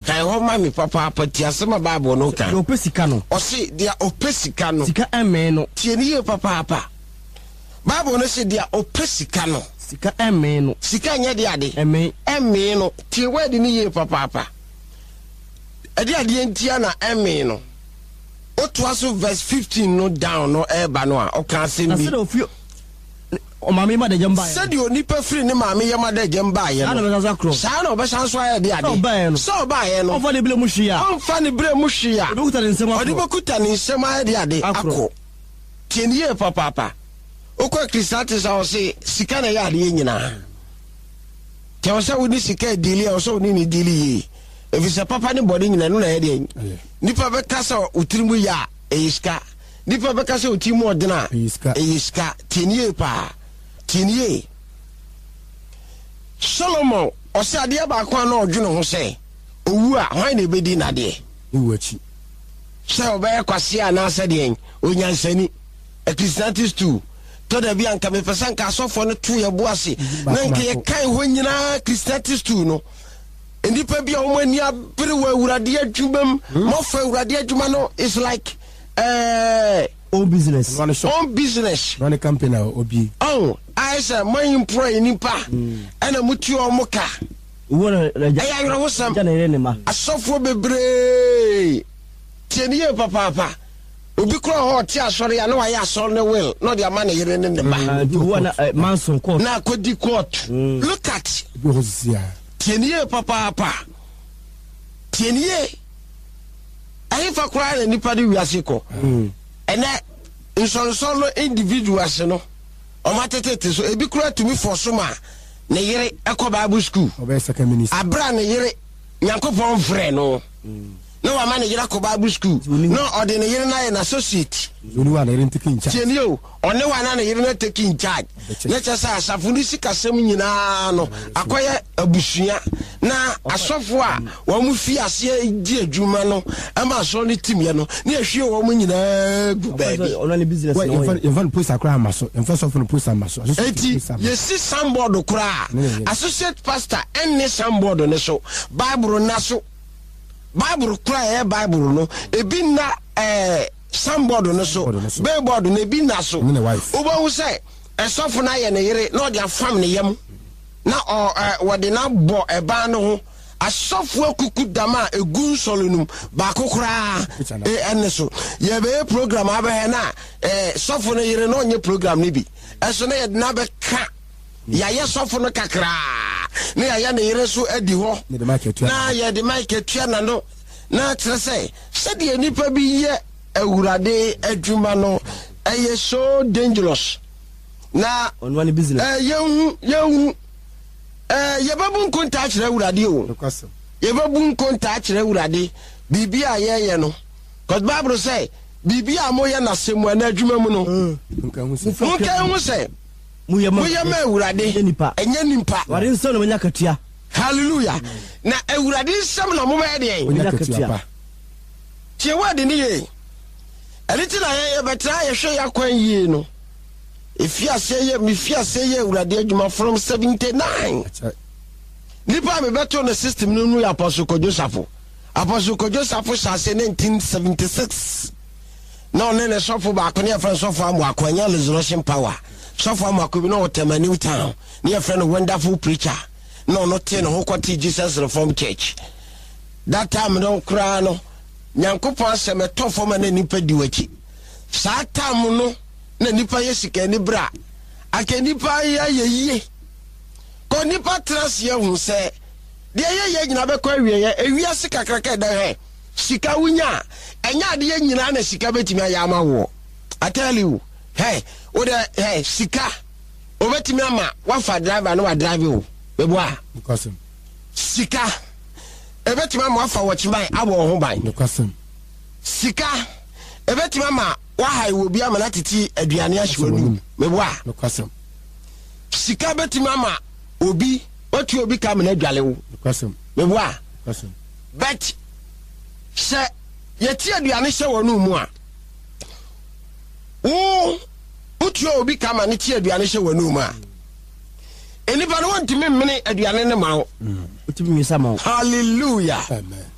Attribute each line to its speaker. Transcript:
Speaker 1: Kan hɔ ma me papaapa, tie asɛm a Bible no ka.
Speaker 2: Deɛ ɔpɛ sika no.
Speaker 1: Ɔse, deɛ ɔpɛ sika no.
Speaker 2: Sika mmee no.
Speaker 1: Tie no yie papaapa. Bible no se, deɛ ɔpɛ sika no.
Speaker 2: Sika mmee no.
Speaker 1: Sika nyɛ deɛ ade.
Speaker 2: Mmee.
Speaker 1: Mmee no. Tie word no yie papaapa. Ɛde adeɛ ntia na ɛmmee no. Wotoa so verse 15 no down no ɛreba no a, ɔka asɛm
Speaker 2: Na
Speaker 1: bi.
Speaker 2: sɛdeɛ ɔfiri ɔmaame yam adagyam baeɛ no.
Speaker 1: Sɛdeɛ onipa firi ne maame yam adagyam baeɛ
Speaker 2: Saa na
Speaker 1: no.
Speaker 2: ɔbɛsan so akorɔ.
Speaker 1: Saa na ɔbɛsan so ayɛ de ade.
Speaker 2: Sɛ ɔbaeɛ no.
Speaker 1: Sɛ ɔbaeɛ no.
Speaker 2: Ɔmfa ne berɛ mu hwee a.
Speaker 1: Ɔmfa ne berɛ mu hwee a.
Speaker 2: Ɔde bɛkuta ne nsam akorɔ.
Speaker 1: Ɔde bɛkuta ne nsam ayɛ de ade
Speaker 2: Akorɔ.
Speaker 1: akɔ. Tie no yie papaapa. Wokɔ Ecclesiastes a ɔse sika na ɛyɛ adeɛ nyinaa. Nti ɛwɔ sɛ wode sika diili a ɛwɔ sɛ wone ne diili yie. Ɛfiri sɛ papa ne bɔne nyinaa ɛno na ɛyɛ deɛ. Nipa bɛka sɛ wo tiri mu yɛ a ɛyɛ sika. Nipa bɛka sɛ wo tiri mu ɔdene a ɛyɛ sika. Tie no yie paa. Tie no yie. Solomon ɔsɛ adeɛ baako a na ɔdwene ho sɛ owu a hwan na ɛbɛdi n'adeɛ? Sɛ ɔbɛyɛ kwasea anaasɛ deɛn onyansani. Ecclesiastes 2. Tɔ da bi a nka mepɛ sɛ nka asɔfoɔ no to yɛ bo ase na nka yɛkan hɔ nyinaa. Ecclesiastes 2 no, nnipa bi a wɔn ani abere wɔ Awurade adwuma mu, mɔfa Awurade adwuma no is like
Speaker 2: own business.
Speaker 1: Own business.
Speaker 3: Run a company a obi.
Speaker 1: Oh, ayɛ sɛ mo employ nipa ɛna mo tua wɔn ka. Ɛyɛ awerɛhosɛm. Asɔfoɔ bebree, tie ne yie papaapa. Obi kura hɔ ɔte asɔre a na wayɛ asɔre ne will na ɔde ama ne yere ne ne ba. Na akɔdi court. Look at. Tie ne yie papaapa. Tie ne yie. Ɛhefa koraa na nipa de wiase kɔ? Ɛnɛ nsɔnsɔn no individuals no ɔmo atetete so, ebi koraa tumi fɔ so ma ne yere ɛkɔ Bible school. Abira ne yere Nyankopɔn frɛ no na wama ne yere akɔ Bible school na ɔde ne yere no ayɛ n'associate. Tie nie o, ɔne wa na ne yere no take in charge na kyerɛ sɛ asafo no sikasɛm nyinaa no akɔyɛ abusua na asɔfo a wɔn fi aseɛ di adwuma no ɛma asɔre no timyɛ no ne yɛhwie wɔn nyinaa gu baabi.
Speaker 3: Yɛmfa no poster koraa ama so, yɛmfa sɔfo no poster ama so.
Speaker 1: Eti yɛsi signboard koraa, associate pastor ɛnne signboard ne so, Bible na so. Bible koraa ɛyɛ Bible no ebi nna signboard no so, billboard no ebi nna so. Wobɛhu sɛ ɛsɔfo no ayɛ ne yere na ɔde afam ne yam na ɔ ɛɛ wɔde no abɔ ɛban no ho. Asɔfo akuku dam a egu nsɔre no mu baako koraa ɛne so. Yɛbɛyɛ program abɛhɛ na sɔfo no yere na ɔnyɛ program no bi. Ɛso na yɛde no abɛka yɛayɛ sɔfo no kakraa na yɛayɛ ne yere nso adi hɔ na yɛde mic atua n'ano na kyerɛ sɛ sɛdeɛ nnipa bi yɛ Awurade adwuma no ɛyɛ so dangerous na yɛnhu yɛbɛbu nkontaa kyerɛ Awurade o, yɛbɛbu nkontaa kyerɛ Awurade biribi a yɛyɛ no, cause Bible sɛ biribi a moyɛ n'asɛm mu anaa adwuma mu no, monka hu sɛ moyɛ ma Awurade, ɛnyɛ nipa.
Speaker 2: Awurade nsɛm na monya katua.
Speaker 1: Hallelujah. Na Awurade nsɛm na mobɛyɛ deɛn?
Speaker 3: Monya katua pa.
Speaker 1: Tie word ne yie. Ɛno ti na yɛbɛtena yɛhwɛ yɛ akwan yie no. Efi aseɛ yɛ mefi aseɛ yɛ Awurade adwuma from 79. Nipa a mebɛto no system no mu yɛ Apostle Kojo Safo. Apostle Kojo Safo hyɛ aseɛ 1976. Na ɔne ne sɔfo baako ne yɛfrɛ no sɔfo Amoako, ɛnyɛ Resurrection Power. Sɔfo Amoako bi na ɔwɔ Tema New Town ne yɛfrɛ no Wonderful Preacher. Na ɔno tee ne ho kɔtee Jesus Reformed Church. That time no koraa no, Nyankopɔn asɛm ɛtɔ fam a na nipa di w'akyi. Saa time no na nipa yɛ sika ani bere a, anka nipa yɛ ayɛ yie. Kɔ nipa tena ase ahu sɛ deɛ yɛyɛ nyinaa bɛkɔ awieɛ. Ewiase kakraka ɛda hɛ, sika wonya a, ɛnyɛ adeɛ nyinaa na sika bɛtumi ayɛ ama woɔ. I tell you, hɛ, wo dɛ, hɛ, sika, obɛtumi ama wafa driver na wadrive wo. Meboa? Sika, ebɛtumi ama wafa wɔkyeman abɔ wo ho ban. Sika, ebɛtumi ama wahae wɔ bi ama no atete aduane ahye w'anum. Meboa? Sika bɛtumi ama obi watu obi ka amena adwale wo. Meboa? But sɛ yɛte aduane hyɛ w'anum mu a, wo wotua obi ka ma ne te aduane hyɛ w'anum a, nnipa no wɔntumi mmene aduane no ma wo. Hallelujah.
Speaker 3: Amen.